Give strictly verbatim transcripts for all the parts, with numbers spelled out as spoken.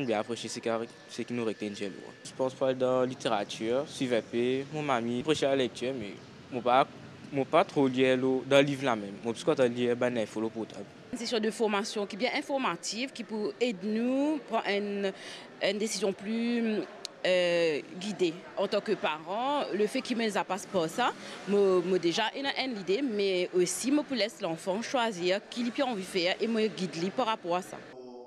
Bien aprésie seki, seki nou retenn de li. Mo pans pou al dan literatir, swiv inpe mo mami, aprésie lalektir, me mo pa, mo pa tro lir lor, dan liv la mem. Mo plis kontan lir bann info lor portab. Enn sesion de formasion ki bien informativ, ki pou ed nou pran enn, enn desizion pli, eh, gide. Antan ki paran, lefet ki mo deza pas par sa, mo, mo deza ena enn lide, me osi mo pou les lanfan swazir ki li pe anvi fer e mo gid li par rapor a sa.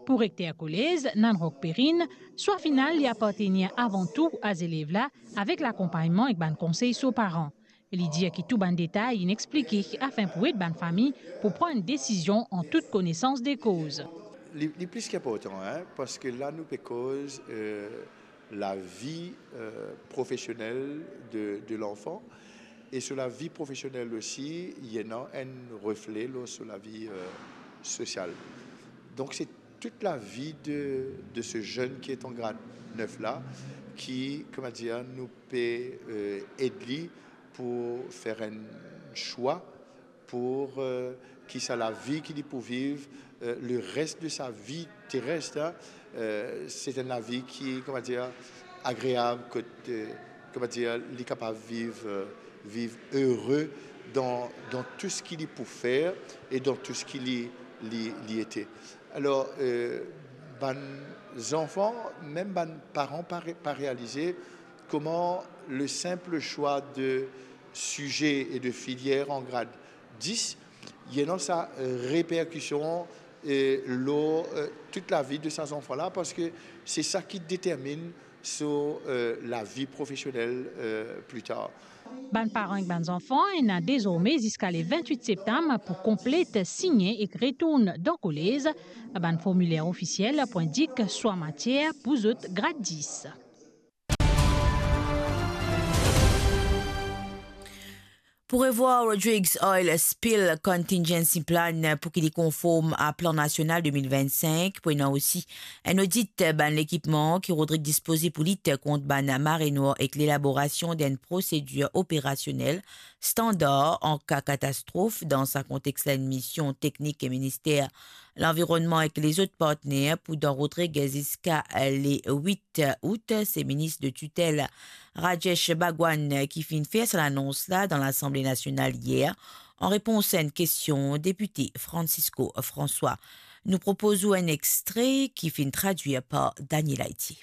Pou rekter kolez, Nanrock Perrine, swa final li apartenir avan tou a zelev la avek lakonpagnman ek bann konsey so paran. Li dir ki tou bann detay inn explike afin pou ed bann fami pou pran enn desizion an tout konesans de koz. Li, li plis ki inportan, hein, parski la nou pe koz, euh, lavi, euh, profesionel de, de lanfan. E so lavi profesionel osi, li ena enn refle lor so lavi, euh, sosial. Donk, se tout lavi de, de se zenn ki est en grade neuf la, ki, kouma dir, nou pe, euh, ed li pou fer enn swa pou, euh, ki sa lavi ki li pou viv, euh, le reste de sa vie terrestre, hein, euh, se enn lavi ki, kouma dir, agreab, kot, euh, kouma dir, li kapav viv, euh, viv ere dan, dan tou seki li pou fer e dan tou seki li, li, li ete. Alor, euh, bann zanfan, mem bann paran pa re-, pa realize kouma le sinp swa de size e de filier an grad dis, li ena sa, euh, reperkision, euh, lor, euh, tout lavi de sa zanfan la, parski se sa ki determinn so, euh, lavi profesionel, euh, pli tar. Bann paran ek bann zanfan ena dezorme ziska le vintwit septam pou konplet, signe ek retourn dan kolez. Bann formiler ofisiel pou indik swa matier pou zot grad dis. Pou revwar Rodrigues Oil Spill Contingency Plan pou ki li konform a Plan Nasional de mil vinn-sink, pou ena osi enn odit bann lekipman ki Rodrigues dispoze pou lit kont bann mare nwar ek lelaborasion d'enn prosedir operasionel standar an ka katastrof. Dan sa kontex la, enn mision teknik Minister Lanvironnman ek lezot partner pou dan Rodrigues ziska le wit out. Se minis de titel Rajesh Bhagwan ki finn fer sa lanons la dan Lasanble Nasional yer, an repons a enn kestion depite Francisco François. Nou propoz ou enn extre ki finn tradwir par Daniel Haiti.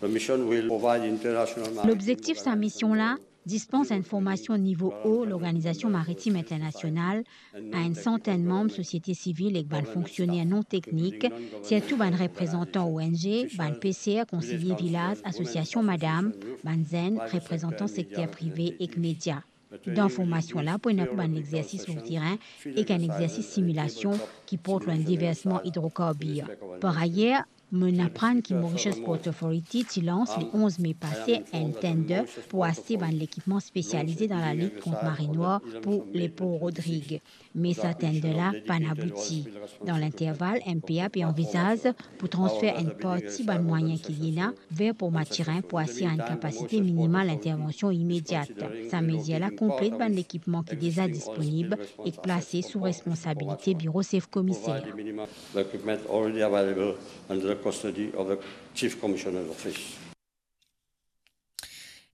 The mission will provide international maritime Lobzektif sa organization mision la, dispans enn formasion nivo o Lorganizasion Maritim Internasional a enn santenn manm sosiete sivil ek bann fonksioner non teknik, sirtou bann reprezantan O N G, bann peser, konseye vilaz, asosiasion madam, bann zenn, reprezantan sekter prive ek media. Dan formasion la, pou ena pou bann lexersis lor terin ek enn lexersis similasion ki port lor enn diversman idrokarbir. Par ayer, mo'nn aprann ki Mauritius Port Authority ti lans le onz me pase enn tender pou aste bann lekipman spesialize dan lalit kont mare nwar pou lepor Rodrigues. Me sa tender la pa'nn abouti. Dan linterval, M P A pe anvizaz pou transfer enn parti bann mwayin ki li ena ver Port Mathurin pou asir enn kapasite minimal intervansion imediat. Sa mezir la konplet bann lekipman ki deza disponib ek plase sou responsabilite biro sef komiser. The equipment already available under the custody of the Chief Commissioner's Office.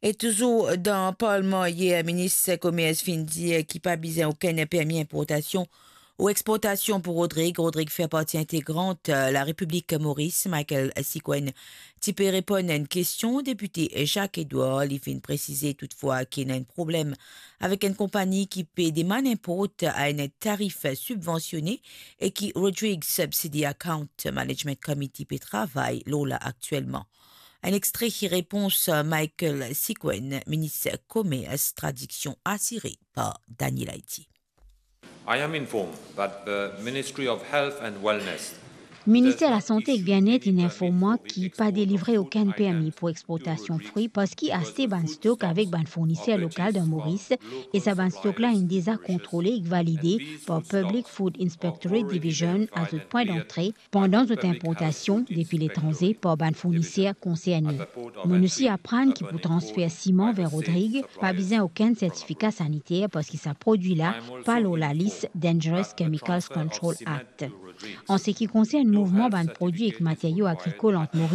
E touzour dan Parlman yer, minis komers finn dir ki pa bizin okenn permi inportasion ou exportasion pou Rodrigues. Rodrigues fer parti integrant, euh, Larepiblik Moris. Michael Sikwenn ti pe reponn enn kestion depite Jacques Edouard. Li finn presize toutfwa ki ena enn problem avek enn konpagni ki pe demann inport a enn tarif sibvansione e ki Rodrigues Subsidy Account Management Committee pe travay lor la aktielman. Enn extre ki repons Michael Sikwenn, minis komers, tradiksion asire par Daniel Haiti. I am informed that the Ministry of Health and Wellness Minister Lasante ek Bienet inn inform mwa ki pa delivre okenn permi pou exportasion frwi parski aste bann stok avek bann fourniser lokal dan Moris, e sa bann stok la inn deza kontrole ek valide par Public Food Inspectorate Division a zot pwin dantre pandan zot inportasion depi letranze par bann fourniser konserne. Mo'nn osi aprann ki pou transfer siman ver Rodrigues, pa bizin okenn sertifika saniter parski sa prodwi la pa lor lalis Dangerous Chemicals Control Act. An seki konsern mouvman bann prodwi ek materio agrikol ant Moris